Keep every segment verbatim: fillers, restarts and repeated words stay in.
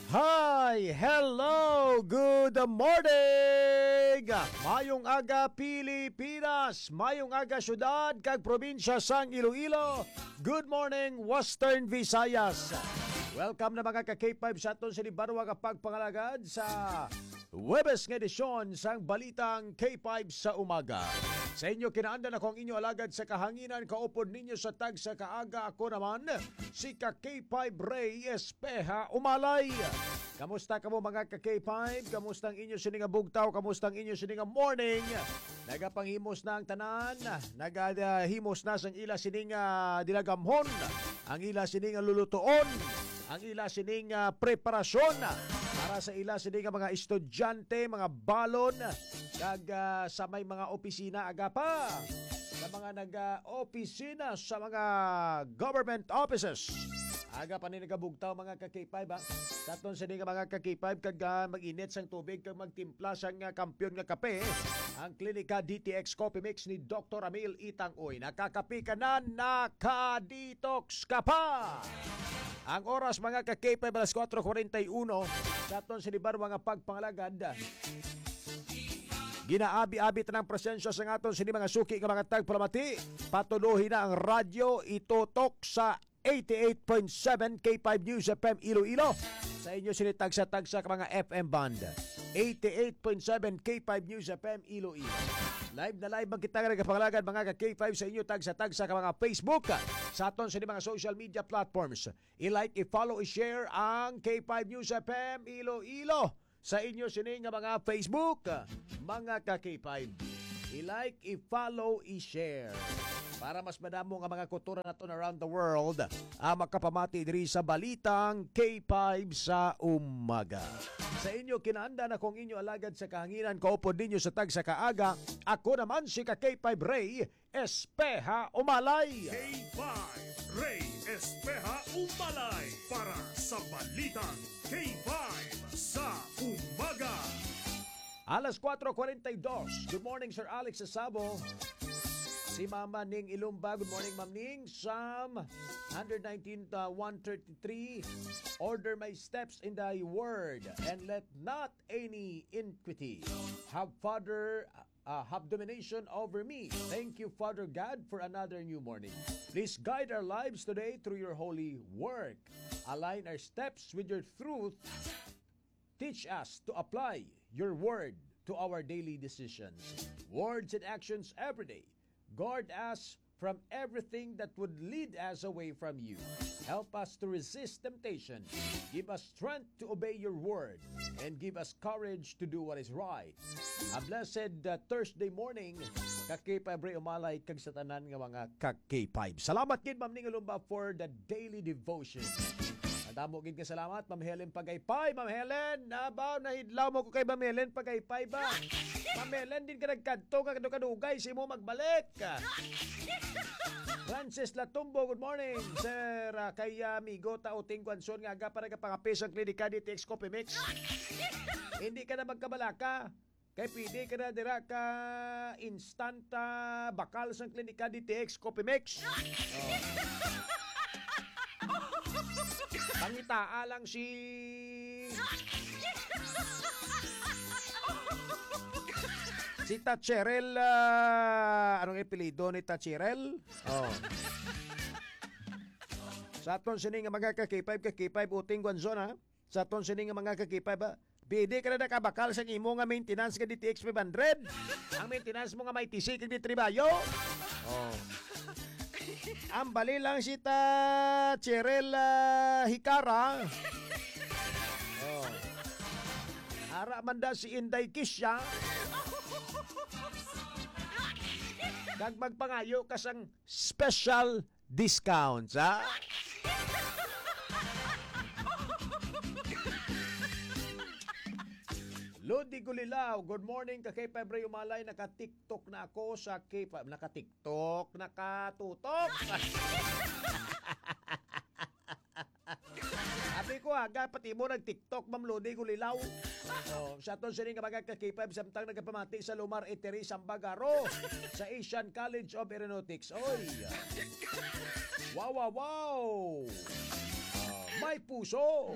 Hi! Hello! Good morning! Mayong aga, Pilipinas! Mayong aga, syudad kag probinsya sang Iloilo! Good morning, Western Visayas! Welcome na, mga ka-K five, sa aton sini barwa nga pagpangalagad sa Huwebes nga edisyon sang Balitang K five sa Umaga. Sa inyo kinaandan, ako ang inyo alagad sa kahanginan, kaupod ninyo sa tagsa kaaga. Ako naman, si ka K five Ray Espeha Umalay. Kamusta kamo, mga ka K five? Kamusta ang inyo sini nga bugtaw? Kamusta ang inyo sini nga morning? Nagapanghimusta na ang tanan, nagahimos na sang ila sini nga dilagamhon, ang ila sini nga lulutuon, ang ila sini nga preparasyon para sa ila sini nga mga estudyante, mga balon, kag, ah, sa may mga opisina, aga pa sa mga nag-opisina sa mga government offices. Aga pa ni nagabugtaw, mga ka K five, ha? Sa aton sini nga mga ka K five, kag, ah, mag-init sang tubig kag magtimpla sang, ah, kampiyon nga kape, ang Klinika D T X Coffee Mix ni Doktor Amil Itang Uy. Nakakapi ka na, naka-detox ka pa! Ang oras, mga ka K five, alas kuwatro kuwarenta y uno. Sa aton sini barwa nga pagpangalagad, ginaabi-abi ta ang presensya sa aton sini mga suki nga mga tagpalamati. Patuloy na ang radyo, itutok sa eighty-eight point seven K five News F M Iloilo. Sa inyo sini tagsa-tagsa ka mga F M band, eighty-eight point seven K five News F M Iloilo. Live na live man kita nga nagapangalagad, mga ka K five, sa inyo tagsa-tagsa ka mga Facebook, sa aton sini mga social media platforms. I-like, i-follow, i-share ang K five News F M Iloilo sa inyo sini nga mga Facebook, mga ka K five. I-like, i-follow, i-share para mas madamo nga mga kultura naton around the world ang makapamati diri sa Balitang K five sa Umaga. Sa inyo kinaandan, ako ang inyo alagad sa kahanginan, kaupod ninyo sa tagsa kaaga. Ako naman si ka K five Ray Espeha Umalay. K five, Ray Espeha Umalay para sa Balitang K five sa Umaga. Alas kuwatro kuwarenta y dos. Good morning, Sir Alex Sasabo. Si Mama Ning Ilumba. Good morning, Ma'am Ning. Psalm hundred nineteen, uh, one thirty-three. "Order my steps in thy word, and let not any iniquity have, Father, uh, have domination over me." Thank you, Father God, for another new morning. Please guide our lives today through your holy work. Align our steps with your truth. Teach us to apply your word to our daily decisions, words, and actions every day. Guard us from everything that would lead us away from you. Help us to resist temptation. Give us strength to obey your word, and give us courage to do what is right. A blessed, uh, Thursday morning, ka K five Ray Umalay, kag sa tanan nga mga ka K five. Salamat gid, Ma'am Ning Ulumba, for the daily devotion. Madamo gid nga salamat, Ma'am Helen Pagaypay. Ma'am Helen, nabaw, nahidlaw mo ko kay Ma'am Helen Pagaypay ba? Ma'am Helen, din ka nagkadto, ka kadugay sa imo magbalik. Francis Latumbo, good morning, sir. Ah, kay, ah, amigo ta Uting Guanzon nga aga pa nagapangape sang Klinika D T X Coffee Mix. Hindi ka na magkabalaka. Kay pwede ka na dira ka instant, ah, bakal sang Klinika D T X Coffee Mix. Oh. Pangitaa lang si, si Tacherel, ah, anong apelyido ni Tacherel? Oh. Sa aton sini nga mga ka K five, ka K five Uting Guanzon, ha? Sa aton sini nga mga ka K five, ha? Pwede ka na nakabakal sa imo nga maintenance nga D T X five hundred. Ang maintenance mo nga may T C kag di tribayo. Oh. Ang bali lang si ta Cheryl, ah, Hikara. Oh. Ara man da si Inday Kisha. Kag magpangayo ka sang special discounts, ha? Lodi Gulilaw, good morning, ka K five Ray Umalay, naka-TikTok na ako sa K five, naka-TikTok, nakatutok. Abi ko, aga, pati mo nag-TikTok, Ma'am Lodi Gulilaw. Oh, sa aton sini nga mga ka K five, samtang nagapamati sa Lumar Eatery, Sambagaro, sa Asian College of Aeronautics. Oy! Wow, wow, wow! Oh, may puso.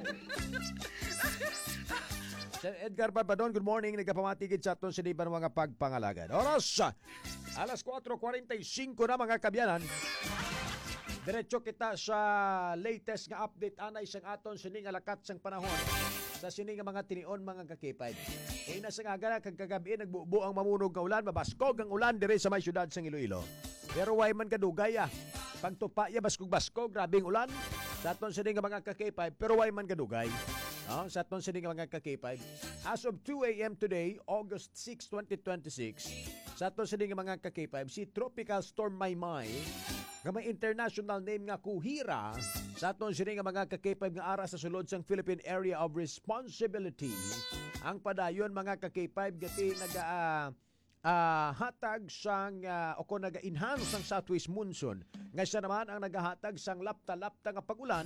Sir Edgar Barbadon, good morning. Nagapamati gid sa aton sini nga mga pagpangalagan. Oras, alas kuwatro kuwarenta y singko na, mga kaabyanan. Diretso kita sa latest nga update anay sang aton sini nga lakat sang panahon sa sini nga mga tinion, mga ka-K five. Kaina sang aga na kag kagab-i, nagbubo ang mamunog nga ulan, mabaskog ang ulan diri sa may siyudad sang Iloilo. Pero way man kadugay, ah. Pagtupa ya, baskog-baskog, grabing ulan. Sa aton sini nga mga ka-K five, pero way man kadugay. No? Sa aton sini nga mga ka-K five. As of two a m today, August six, twenty twenty-six, sa aton sini nga mga ka-K five, si Tropical Storm Maymay, nga may international name nga Kuhira, sa aton sini nga mga ka-K five nga ara sa sulod sang Philippine Area of Responsibility, ang padayon, mga ka-K five, gati naga, ah, ah, hatag sang, ah, o kon naga-enhance sang southwest monsoon, nga siya naman ang nagahatag sang lapta-lapta nga pag-ulan,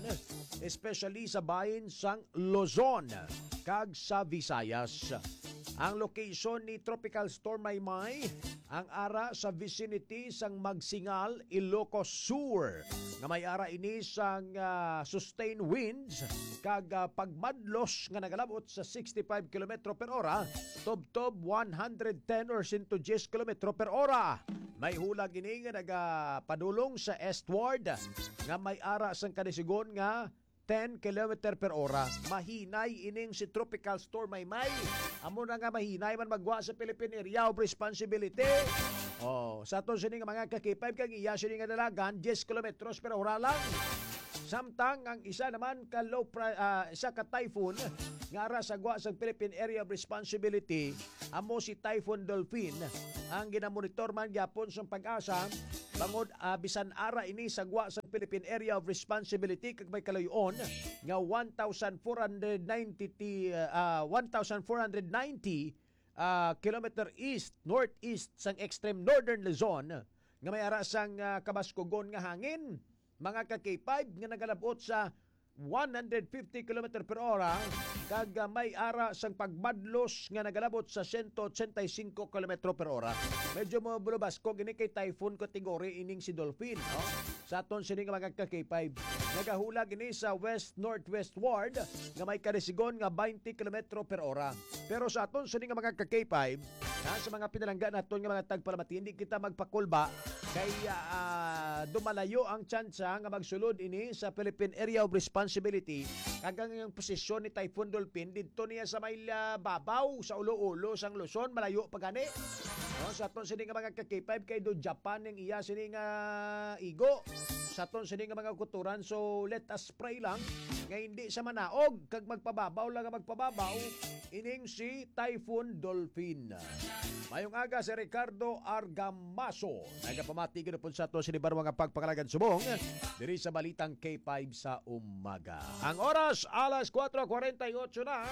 especially sa bahin sang Luzon kag sa Visayas. Ang location ni Tropical Storm Maymay, ang ara sa vicinity sang Magsingal, Ilocos Sur, nga may ara ini sang, ah, sustained winds kag, ah, pagmadlos nga nagalabot sa sixty-five kilometro per ora, tubtob one hundred ten or sento diyes kilometro per ora. May hulag ini nga nagapadulong sa eastward nga may ara sang kadisigon nga ten kilometer per ora. Mahinay ining si Tropical Storm Maymay. Amo na nga mahinay man maggwa sa Philippine Area of Responsibility. Oh, sa aton sini nga mga ka-K five, kag iya sini nga dalagan, diyes kilometros per ora lang. Samtang ang isa naman ka low pri-, ah, isa ka typhoon nga ara sa gwa sa Philippine Area of Responsibility, amo si Typhoon Dolphin, ang ginamonitor man gyapon sang PAGASA, bangod, ah, bisan ara ini sa gwa sa Philippine Area of Responsibility kag may kaluy-on nga one thousand four hundred ninety, ah, one thousand four hundred ninety, ah, kilometer east, northeast sang extreme northern Luzon, nga may ara sang, ah, kabaskugon nga hangin, mga ka-K five, nga nagalabot sa one hundred fifty kilometer per ora, kag, ah, may ara sang pagmadlos nga nagalabot sa sento ochenta y singko kilometro per ora. Medyo mo bulubaskog ini kay typhoon category ining si Dolphin, no? Sa aton sini nga mga ka-K five, nagahulag ini sa west-northwestward nga may kadisigon nga twenty kilometro per ora. Pero sa aton sini nga mga ka-K five, ha, sa mga pinalangga naton nga mga tagpalamati, hindi kita magpakulba kay, ah, dumalayo ang tsansa nga magsulod ini sa Philippine Area of Responsibility, kag ang iyang posisyon ni Typhoon Dolphin didto niya sa may, ah, babaw, sa ulo-ulo sang Luzon, malayo pa gani. No, sa aton sini nga mga ka-K five, kay do Japan ang iya sini nga igo sa aton sini nga mga kuturan. So, let us pray lang nga hindi sa manaog kag magpababaw lang nga magpababaw ining si Typhoon Dolphin. Mayong aga, si Ricardo Argamaso. Nagapamati gid po sa aton sini barwa nga pagpangalagan subong diri sa Balitang K five sa umaga. Ang oras, alas kuwatro kuwarenta y ocho na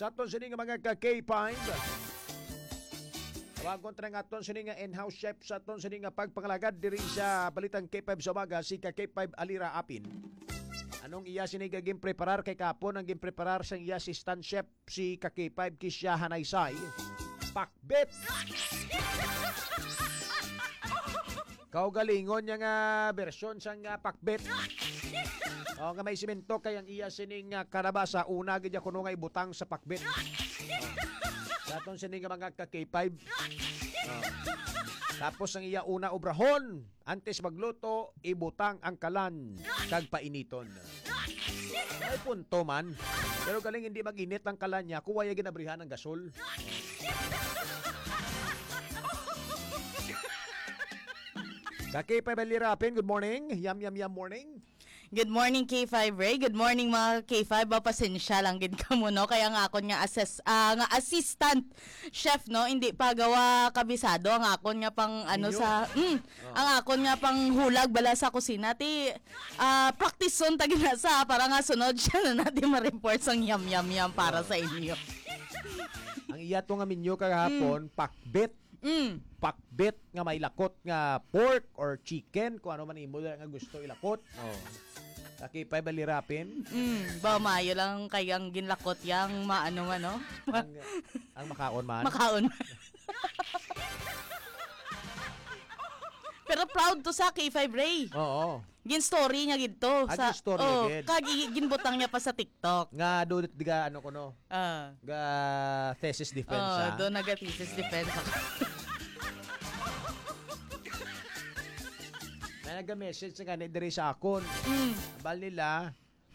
sa aton sini nga mga ka-K five. Tawagon ta nga aton sini nga in-house chef sa aton sini nga pagpangalagad diri sa Balitang K five sa umaga, si ka K five Alira Apin. Anong iya sini nga ginpreparar kay kapon ang ginpreparar sang iya assistant chef si ka K five Kisha Hanaysay? Pakbet! Kaugalingon niya nga bersyon sang, ah, pakbet. O, nga may simento kay ang iya sining, ah, kalabasa, una gid niya kuno nga ibutang sa pakbet. O. Sa aton sini nga mga ka K five. O. Tapos ang iya una obrahon, antes magluto, ibutang ang kalan kag painiton. May punto man. Pero galing hindi mag-init ang kalan niya, kuwaya ginabrihan ang gasol. Ka K five Alira Apin, good morning. Yam, yam, yam morning. Good morning, K five Ray. Good morning, mga K five. Ba, pasensya lang gid kamo, no? Kaya nga akon nga assess-, ah, nga assistant chef, no? Hindi pa gawa kabisado ang akon nga pang, ano, Inyo? sa, mm, Oh. ang akon nga pang hulag bala sa kusina. Ti, ah, practice-on ta gina sa para nga sunod siya na natin ma-report sang yam, yam, yam para Oh. sa inyo. Ang iya to nga menu kagahapon, Mm. pakbet. Mm. Pakbet nga may lakot nga pork or chicken, kung ano man imo nga gusto ilakot. Oh. Ka K five Alira Apin. Mm. Ba, maayo lang kay ang ginlakot yang maano man, no? Ang, ang makaon man. Makaon man. Pero proud to sa K five Ray. Oo. Gin-story niya gid to. Ah, sa, gin-story niya oh, gid. Kag i-, ginbutang niya pa sa TikTok. Nga, do, di ka, ano ko, no? Ah. Ga thesis defense, Oh, ah. do naga thesis defense ako. May naga-message sa gani diri sa akon. Mm. Bal nila,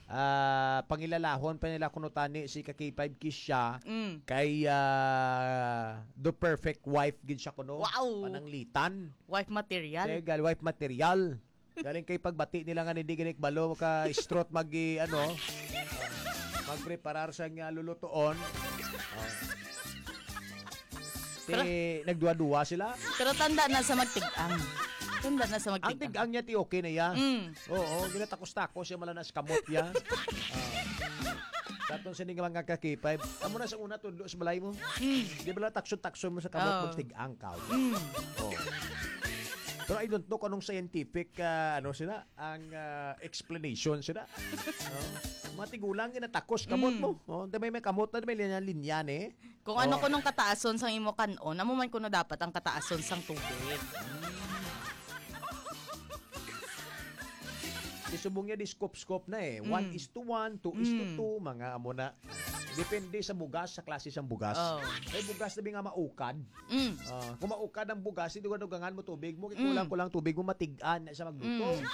ah, pangilalahon pa nila kuno tani si ka K five Kisha Mm. kay, ah, the perfect wife gid siya kuno. Wow! Pananglitan. Wife material. Legal, wife material. Galing kay pagbati nila nga hindi gani kabalo ka strot mag, ano, magpreparar sa nga lulutuon. Oh. Ti, Pero nagduwa-duwa sila. Pero tanda na sa magtigang. Tanda na sa Ang magtigang. tigang niya, ti, okay na ya. Mm. Oo, ginatakos-takos siya, mala na sa kamot ya. Ah. Sa aton sini nga mga ka K five, amo na sa una, tudlo sa balay mo. Mm. Di ba lang takso-takso mo sa kamot, Oo. magtigang ka? Mm. Oo. Pero I don't know kung anong scientific, ah, ano sila, ang, ah, explanation sila. No? Mga tigulang, ginatakos kamot Mm. mo. Oh, di may, may kamot na, may linya-linya ni. Kung ano Oh. kunong kataason sang imo kan-on, amo man kuno dapat ang kataason sang tubig. Di subong niya, di scoop-scoop na eh. One Mm. is to one, two is to Mm. two, mga amo na. Depende sa bugas, sa klase sang bugas. Oh. May bugas na bi nga maukad. Mm. Ah, kung maukad ang bugas, hindi ko dugangan mo tubig mo, Mm. kulang-kulang tubig mo, matigaan na sa magluto. Mm.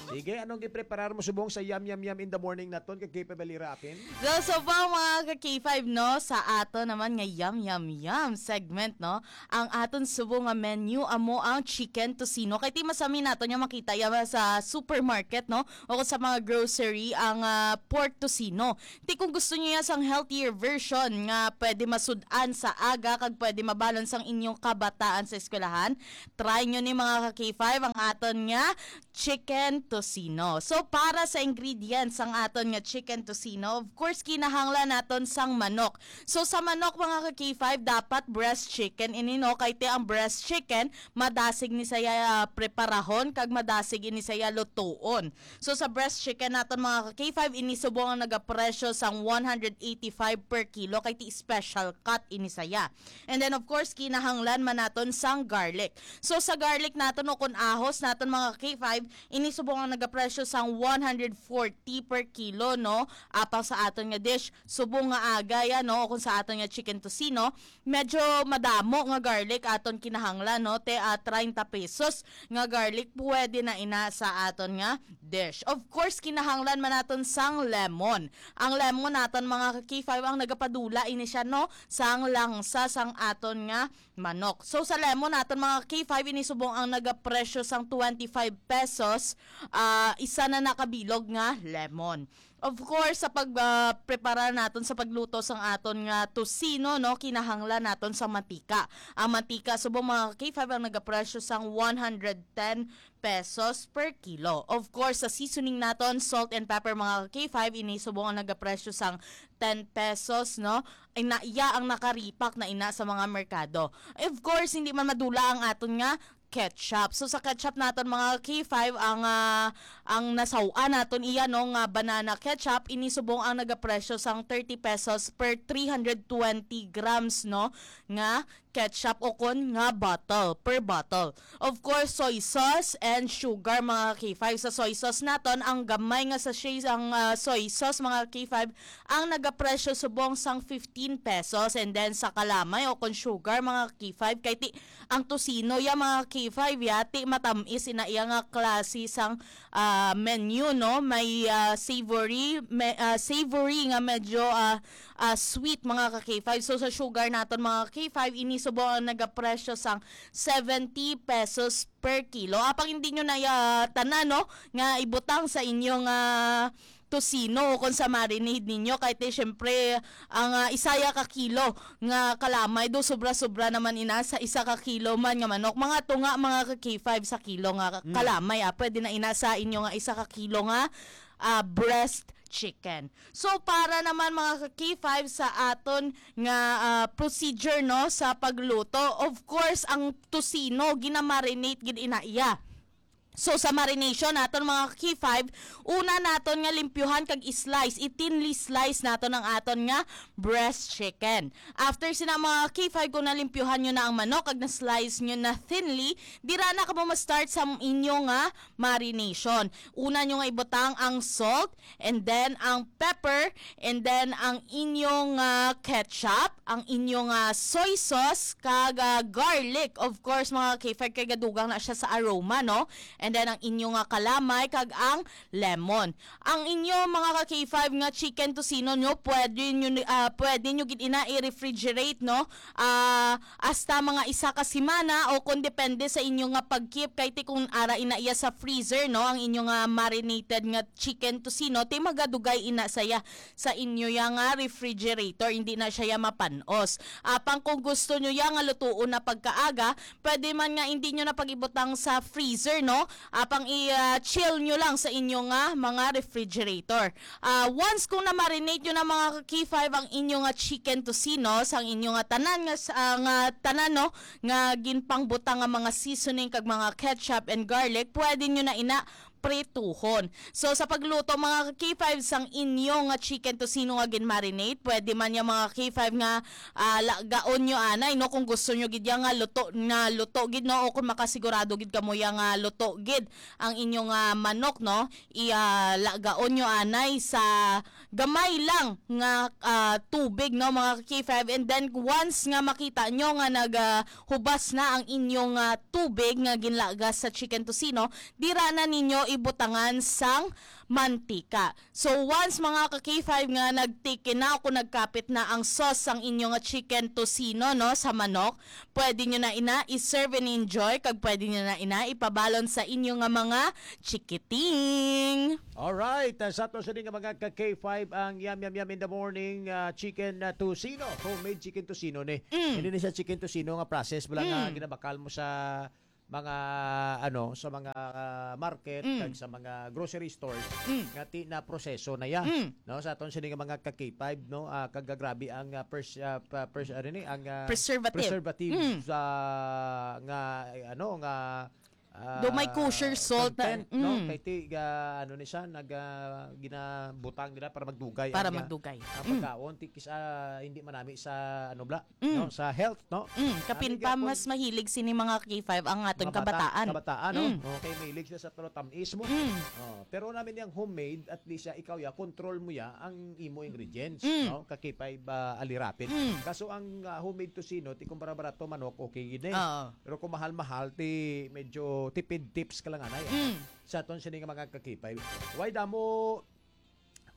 Sige, anong gipreparar mo subong sa Yum Yum Yum in the Morning naton kay K five Balira Apin? So, so far, mga ka K five, no, sa ato naman nga Yum Yum Yum segment, no, ang aton subong nga menu amo ang chicken tocino. Kay ti masami nato niya makita ya sa supermarket, no, o kung sa mga grocery ang, ah, pork tocino. Ti kung gusto niyo ya sang healthier version nga pwede masud-an sa aga kag pwede mabalon sang inyong kabataan sa eskwelahan, try nyo ni mga ka K five ang aton nga chicken tocino. So, para sa ingredients sang aton nga chicken tocino, of course, kinahanglan naton sang manok. So, sa manok, mga ka K five, dapat breast chicken ini, no? Kay ti ang breast chicken, madasig ni saya, ah, preparahon, kag madasig ini saya lutuon. So, sa breast chicken naton, mga ka K five, ini subong ang nagapresyo sang one hundred eighty-five per kilo, kay ti special cut ini saya. And then, of course, kinahanglan man naton sang garlic. So, sa garlic naton o kun ahos naton, mga ka K five, ini subong ang nagapresyo sang one hundred forty per kilo, no? Apang sa aton nga dish, subong nga aga ya, no? O kung sa aton nga chicken tocino, medyo madamo nga garlic aton kinahanglan, no? Te, ah, treinta pesos nga garlic pwede na ina sa aton nga dish. Of course, kinahanglan man naton sang lemon. Ang lemon naton, mga ka K five, ang nagapadula ini siya, no, sang langsa sang aton nga manok. So, sa lemon naton, mga ka K five, ini subong ang nagapresyo sang twenty-five pesos, ah, isa na nakabilog nga lemon. Of course, sa pag, ah, prepara naton sa pagluto sang aton nga tocino, no, kinahanglan naton sang mantika. Ang mantika subong, mga ka K five, ang nagapresyo sang one hundred ten pesos per kilo. Of course, sa seasoning naton, salt and pepper, mga ka K five, ini subong ang nagapresyo sang ten pesos, no? Ay na, iya ang nakaripak na ina sa mga merkado. Of course, hindi man madula ang aton nga ketchup. So, sa ketchup naton, mga K five, ang, ah, ang nasaw-an naton iya, no, nga banana ketchup, ini subong ang nagapresyo sang thirty pesos per three hundred twenty grams, no, nga ketchup o kon nga bottle, per bottle. Of course, soy sauce and sugar, mga K five. Sa soy sauce naton, ang gamay nga sachet, ang, ah, soy sauce, mga K five, ang nagapresyo subong sang fifteen pesos. And then, sa kalamay o kon sugar, mga K five, kay ti, ang tocino ya, mga K five, ya, ti matamis ina iya nga klase sang, ah, menu, no? May, ah, savory, may, ah, savory nga medyo, ah, ah, sweet, mga ka K five. So, sa sugar naton, mga ka K five, ini subong ang nagapresyo sang seventy pesos per kilo. Apang hindi nyo na ya tanan, no, nga ibutang sa inyong, ah, tocino o kung sa marinade ninyo. Kay ti, syempre, ang, ah, isa ya ka kilo nga kalamay do, sobra-sobra naman ina sa isa ka kilo man nga manok. Mga tunga, mga ka K five sa kilo nga Mm. kalamay, ah. Pwede na ina sa inyo nga isa ka kilo nga, ah, breast chicken. So, para naman, mga ka K five, sa aton nga, ah, procedure, no, sa pagluto, of course, ang tocino, ginamarinate gid ina iya. So, sa marination naton, mga ka-K five, una naton nga limpyuhan kag i-slice, i-thinly slice naton ang aton nga breast chicken. After sina, mga ka-K five, kung nalimpyuhan nyo na ang manok kag na-slice nyo na thinly, dira na kamo ma-start sa inyo nga marination. Una nyo nga ibutang ang salt, and then ang pepper, and then ang inyong ah, ketchup, ang inyong ah, soy sauce, kag ah, garlic. Of course, mga ka-K five, kay gadugang na siya sa aroma, no? And then ang inyong ah, kalamay kag ang lemon. Ang inyo, mga ka-K five, nga chicken tocino nyo, pwede nyo ni- ah, pwede nyo gid ina i-refrigerate, no? Ah, hasta mga isa ka semana, o kung depende sa inyo nga pag-keep, kay ti kung ara ina iya sa freezer, no, ang inyo nga marinated nga chicken tocino, ti magadugay ina saya sa inyo ya nga refrigerator, hindi na siya ya mapan-os. Apang kung gusto nyo ya nga lutuon na pagkaaga, pwede man nga hindi nyo na pag-ibutang sa freezer, no? Apang i-chill nyo lang sa inyo nga mga refrigerator. Ah, once kung na-marinate nyo na, mga ka-K five, ang inyo nga chicken tocino, sang inyo nga tanan nga s- ah, nga tanan, no, nga ginpangbutang nga mga seasoning kag mga ketchup and garlic, pwede nyo na ina prituhon. So, sa pagluto, mga ka-K five, sang inyo nga chicken tocino nga gin-marinate, pwede man ya, mga ka-K five, nga ah, lagaon nyo anay, no, kung gusto nyo gid ya nga luto na luto gid, no, o kung makasigurado gid kamo ya nga luto gid ang inyo nga manok, no, i ah, lagaon nyo anay sa gamay lang nga ah, tubig, no, mga ka-K five. And then once nga makita nyo nga nag ah, hubas na ang inyong ah, tubig nga ginlaga sa chicken tocino, dira na ninyo ibutangan sang mantika. So once, mga ka-K five, nga nagtiki na o kung nagkapit na ang sauce sang inyo nga chicken tocino, no, sa manok, pwede nyo na ina i-serve and enjoy, kag pwede nyo na ina ipabalon sa inyo nga mga chikiting. Alright, ah, sa to sini nga mga ka-K five ang Yum Yum Yum in the Morning ah, chicken na tocino, homemade chicken tocino ni. Mm. Hindi ni siya chicken tocino nga process, wala nga Mm. ginabakal mo sa mga ano, sa mga ah, market Mm. kag sa mga grocery stores Mm. nga ti na proseso na ya. Mm. No, sa aton sini nga mga ka-K five, no, ah, kag grabe ang ah, pers, ah, pa- pers, ano ni, ang ah, Preservative. preservative Mm. sa nga eh, ano nga ah, Do may kosher salt na- content, no? Mm. Kay ti ga, ano ni siya, nag ah, ginabutang nila para magdugay Para ang, ah, magdugay. ang Mm. pagkaon, ti kis ah, hindi manami sa ano bla, Mm. no, sa health, no? Mm, kapin Nami pa gyapon mas mahilig sini, mga ka-K five, ang aton mga bata- kabataan. Kabataan, no? Mm. Okay, mahilig sila sa tulo tamis mo. Mm. Oh, pero namin yang homemade, at least ya, ikaw ya, control mo ya ang imo ingredients, Mm. no? Ka-K five ah, alirapin. Mm. Kaso ang ah, homemade tocino, ti kung barato manok, okay gid eh. Oo. Pero kung mahal-mahal, ti medyo tipid tips ka lang anay. Mm. Sa aton sini nga mga ka-K five. Why damo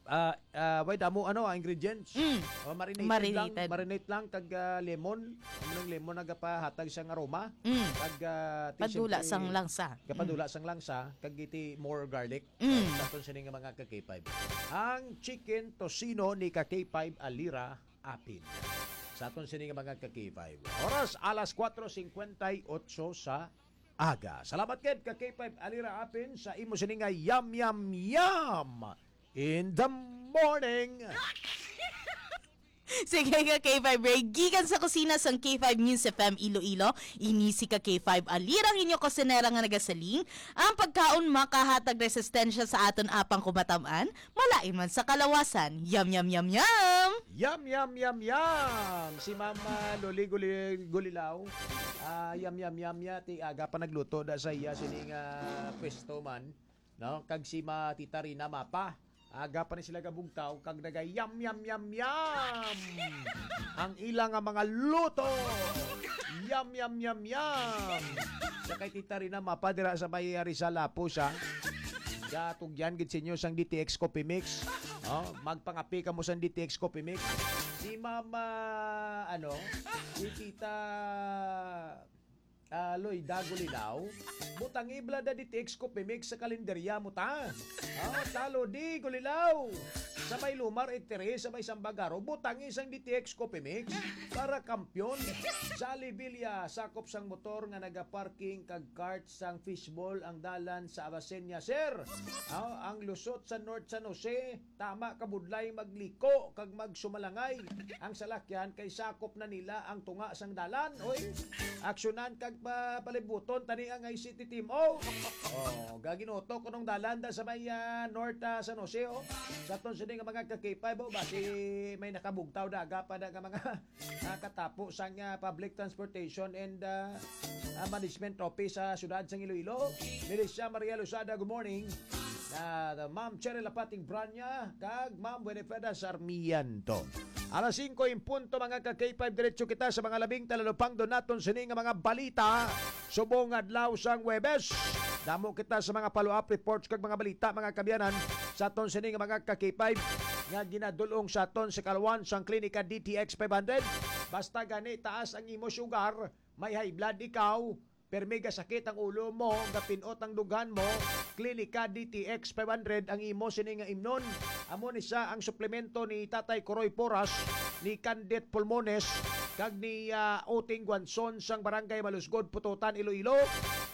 ah ah, why damo ano ang ingredients? Mm. Oh, marinated, Marinated. lang, marinate lang kag ah, lemon. Ang lemon nagapahatag sang aroma. Mm. Kag ah, ti Padula siyempre, sang langsa. Kapadula sang langsa, kag iti more garlic. Mm. Sa aton sini nga mga ka-K five. Ang chicken tocino ni ka-K five Alira Apin. Sa aton sini nga mga ka-K five. Oras alas kuwatro singkwenta y otso sa aga. Salamat gid ka-K five Alira Apin sa imo sini nga yum yum yum in the morning. Sige, ka-K five Ray. Gikan sa kusina sang K five News F M Iloilo, ini si ka-K five Alira, ang inyo kusinera nga nagasiling, ang pagkaon makahatag resistensya sa aton apang kumataman, malain man sa kalawasan. Yum, yum, yum, yum! Yum, yum, yum, yum! Si Mama Loli Guli, Gulilaw, ah, yum, yum, yum, ya, ti aga pa nagluto da sa iya sini nga pwesto man, no? Kag si Ma Tita Rina Mapa, aga pa ni sila gabugtaw, kag naga yum, yum, yum, yum! Ang ila nga mga luto! Yum, yum, yum, yum! Sa kay Tita Rina Mapa, dira sa may Rizal Apo siya. Gatugyan gid sa inyo sang D T X Coffee Mix. Oh, magpangapi kamo sang D T X Coffee Mix. Si Mama, ano, si Tita ah, Loida Gulilaw, butangi bala da D T X Coffee Mix sa kalenderya mo ta. Ah, talo di, Gulilaw. Sa may Lumar, Itiri, sa may Sambagaro, butangi sang D T X Coffee Mix para kampiyon. Jolly Villa, sakop sang motor nga nagaparking kag cart sang fishball ang dalan sa Avicennia, sir. Ah, ang lusot sa North San Jose, tama ka budlay magliko kag magsumalangay. Ang salakyan kay sakop na nila ang tunga sang dalan. Oy, aksyonan kag pa palibuton tani ang I C T team. Oh, oh, gaginuto ko nung dalan da sa may ah, North ah, San Jose. Oh. Sa aton sini nga mga ka-K five, oh, basi may nakabugtaw daga pa na nga mga ah, katapo sang ah, public transportation and ah, ah, management office sa siyudad sang Iloilo. Milicia Maria Lozada, good morning. Ah, Ma'am Cheryl Apating Branya, kag Ma'am Winifreda Sarmiento. Alas singko in punto, mga ka-K five, diretso kita sa mga labing talalupangdon naton sini nga mga balita. Subong adlaw sang Huwebes, damo kita sa mga follow-up reports kag mga balita, mga kaabyanan, sa aton sini nga mga ka-K five nga ginadulong sa aton sa kalwan sang Klinika D T X five hundred. Basta gani taas ang imo sugar, may high blood ikaw, permi gasakit ang ulo mo, gapinot ang dughan mo, Klinika D T X five hundred ang imo sini nga imnon. Amo ni sa ang suplemento ni Tatay Kuroy Porras, ni Candit Pulmones, kag ni ah, Uting Guanzon sang Barangay Malusgod, Pututan, Iloilo.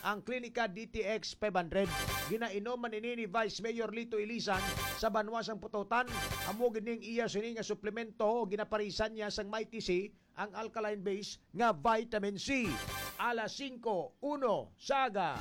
Ang Klinika D T X five hundred, ginainom man ini ni Vice Mayor Lito Ilisan sa banwa sang Pututan. Amo gid ning iya sini nga suplemento, ginaparisan niya sang Mighty C, ang alkaline base nga vitamin C. Alas singko uno sa aga.